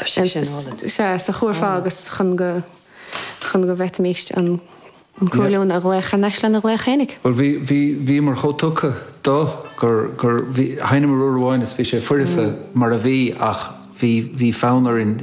Tá sé sin álainn. Sea, sa chúrfá agus chun go chun go bhféadfaimis an an cuairleoin a ghlaoch thar n-ais lena ghlaoch fhéinig. Bhuel bhí bhí bhíomar chomh tugtha dó gur gur bhí sheinneamar uair amháin is bhí sé foirfe mar a bhí ach bhí bhí fonn orainn.